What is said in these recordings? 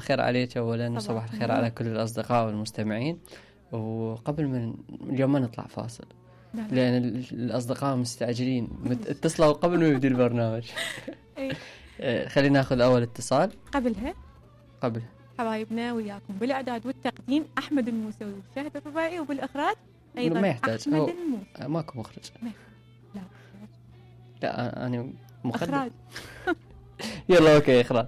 الخير عليك أولا، وصباح الخير على كل الأصدقاء والمستمعين. وقبل من اليوم ما نطلع فاصل لأن الأصدقاء مستعجلين اتصلوا قبل ما يبدأ البرنامج. خلينا ناخذ أول اتصال. قبل حبايبنا وياكم بالإعداد والتقديم أحمد الموسوي وشهد الرباعي، وبالإخراج أيضا ما يحتاج أحمد الموسوي. ماكو مخرج. لا أنا إخراج. يلا أوكي إخراج.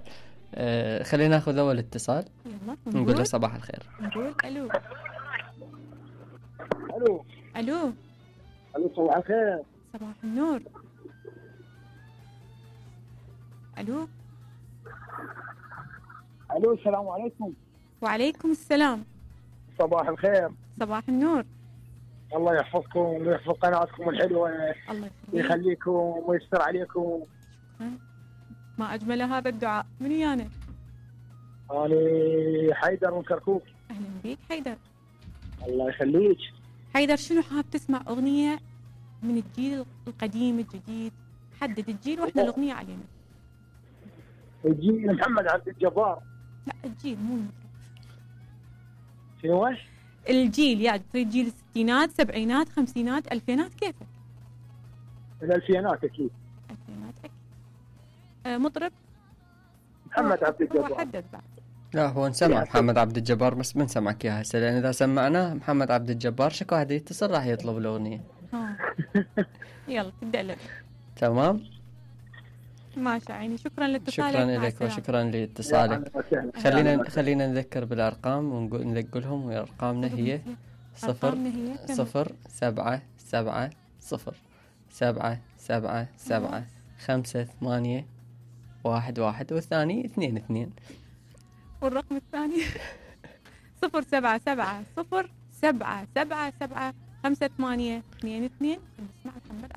خلينا ناخذ أول اتصال. يلا نقول له صباح الخير. نقول ألو. ألو. ألو. ألو صباح الخير. صباح النور. ألو. ألو السلام عليكم. وعليكم السلام. صباح الخير. صباح النور. الله يحفظكم ويحفظ قناتكم الحلوة. الله يخليكم ويستر عليكم. ما أجمل هذا الدعاء. من ويانا؟ أنا حيدر من كركوك. أهلا بيك حيدر. الله يخليك حيدر. شنو حاب تسمع أغنية من الجيل القديم الجديد؟ حدد الجيل وإحنا الأغنية علينا. الجيل محمد عبد الجبار. لا الجيل مو شنو؟ الجيل يعني تريد جيل الستينات سبعينات خمسينات ألفينات كيفك؟ الألفينات أكيد. ألفينات أكيد. مطرب محمد عبد الجبار. حدد بعد. لا هو نسمع محمد عبد الجبار بس ما نسمعك اياها هسه، لان اذا سمعناه محمد عبد الجبار شكو واحد يتصل راح يطلب الاغنيه. يلا تبدا لك. تمام ماشي عيني. شكرا لاتصالك. شكرا لك وشكرا لاتصالك. خلينا نذكر بالارقام ونقولهم. وارقامنا هي 0-7-7-7-7-5-8-1-1 والثاني 2-2. والرقم الثاني 0-7-7-0-7-7-7-5-8-2-2. نسمع محمد.